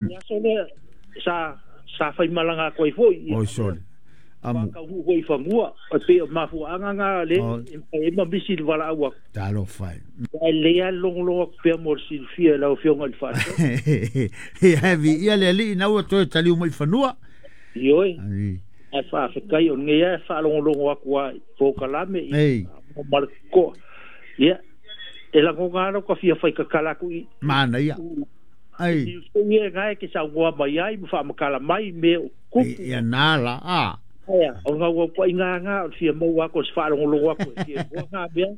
Le aso lea sa sa faimalaga atu ai foi. Oi sole. Amu. Taunuu foi i fanua, e pei o mafuaaga na lea e mafai ai ma misi le valaau atu. Talofa e. Ae lelei lava le logologo atu pea mo le silafia e lau Afioga i le Faatonu. Ia e viia le Alii ina ua toe taliu mai i fanua. Ioe. Ae faafetai o lenei lava e faalogologo atu lava i polokalame ma le totoa. Ia, e lagona lava lou ta fia faitatala atu i. Manaia. Ai. I foi e na e te saunoa mai ai ma faamatala mai mea o tutupu. Ia na la a. Aea, o le naunautaiga lena o le fia maua atu o se faalogologo atu e fia iloa na mea.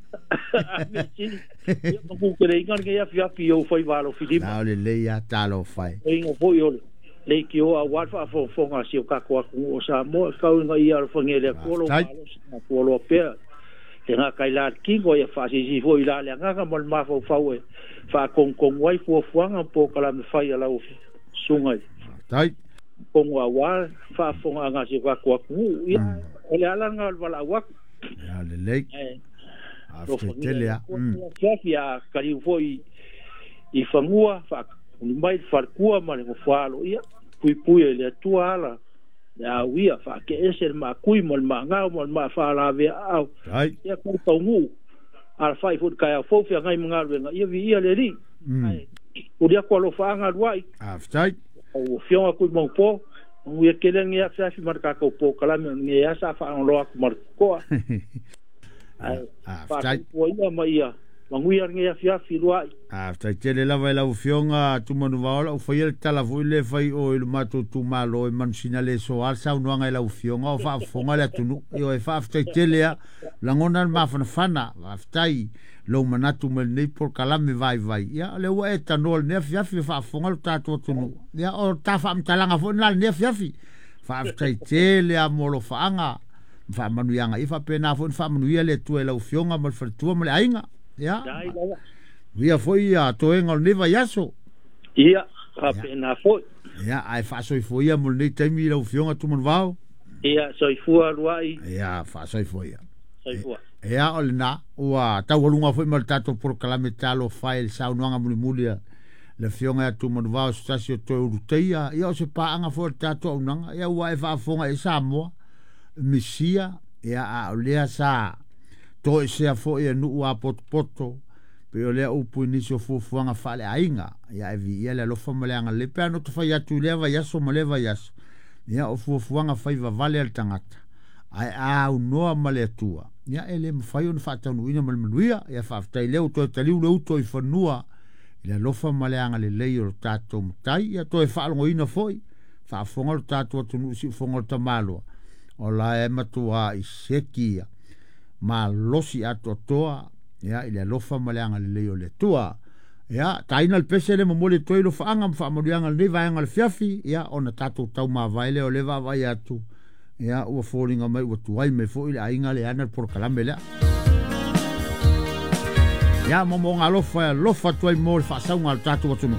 A mea sili, ia manuteleina lenei afiafi i ou faiva alofilima. Na o lelei lava, talofa e. Oiga foi o le leitioa aua le faafogafoga a si o tatou atunuu o Samoa, e tau ina ia alofagia e le Atua lou malosi ma fualoa pea le gata i la le tino, ia faasilisili foi i la le agaga ma le mafaufau e faatonutonu ai fuafuaga ma polokalame fai a lau Susuga i Faafetai. Fono aua faafofogaaga a si o tatou atunuu. Ia, o le ala lena o le valaau atu. Ia lelei. Ae Faafetai alofagia e tele le lava. Atua lenei afiafi, a taliu foi i fanua, faatuli mai le faletua ma le nofoaalo, ia puipui e le Atua ala le auia, faateese le maakui ma le maagao ma le maafaalavea-aao, Faafetai. ia tau taunuu, alafai foi i le taeao fou feagai ma galuega, ia viia le Alii. Ae tuli atu alofaaga alu ai. Faafetai. Lau Afioga Tuimaupo, manuia tele lenei afiafi ma le tatou polokalame o lenei asa faalogologo atu ma le totoa. Ae Faafetai. faatuatua ia ma ia manuia lenei afiafi luai. Faafetai tele lava i lau Afioga Tumanuvaola, ua faia le tala foi lea fai o i le matou itumalo e manusina le soa le saunoaga i lau Afioga o faafofoga le atunuu. Ioe, faafetai tele lava, lagona le mafanafana, faafetai lou manatu mai lenei polokalame vaivai. Ia, o lea ua e tanoa i lenei afiafi o faafofoga lo tatou atunuu. Ia, o ta faamatalaga foi lena i lenei afiafi. Faafetai tele lava mo alofaaga ma faamanuiaga. Ia faapena foi ona faamanuia le Atua i lau Afioga ma le faletua ma le aiga. Ia, Dai lava. manuia foi toega o lenei vaiaso. Ia, faapena foi. Ia, ae faasoifua ia mo lenei taimi i lau Afioga Tumanuvao. Ia, soifua luai. Ia, faasoifua ia. Soifua. Ia, o lena, ua taualuga foi ma le tatou polokalame talofa e i le saunoaga mulimuli a le Afioga ia Tumanuvao, se tasi o toe uluteia, ia o se paaga foi o le tatou auaunaga. Ia, ua e faafofoga i Samoa, Misia, ia, a o lea sa toesea foi e nuu apotopoto, pei o lea upu i nisi o fuafuaga faaleaiga. Ia, e viia le alofa ma le agalelei. Pe a no ta fai atu i lea vaiaso ma lea vaiaso, ia, o fuafuaga fai vavale a le tagata, ae a aunoa ma le Atua, ia, e le mafai ona faataunuuina ma le manuia. Ia, faafetai lea ua toe taliu le uto i fanua i le alofa ma le agalelei o le tatou Matai. Ia, toe faalogoina foi, faafofoga lo tatou atunuu i siufofoga o le tamaloa, o la e matua i seki ia malosi atoatoa, ia, i le alofa ma le agalelei o le Atua. Ia, taina le pese le momoli atu ai lofaaga ma faamanuiaga i lenei vaega o le fiafi, ia, ona tatou taumavae lea o le vaavaai atu, ia, ua foliga mai ua tuai mai foi le aiga le ana le polokalame lea. Ia, momoga alofa e alofa atu ai mo le faasauga a le tatou atunuu.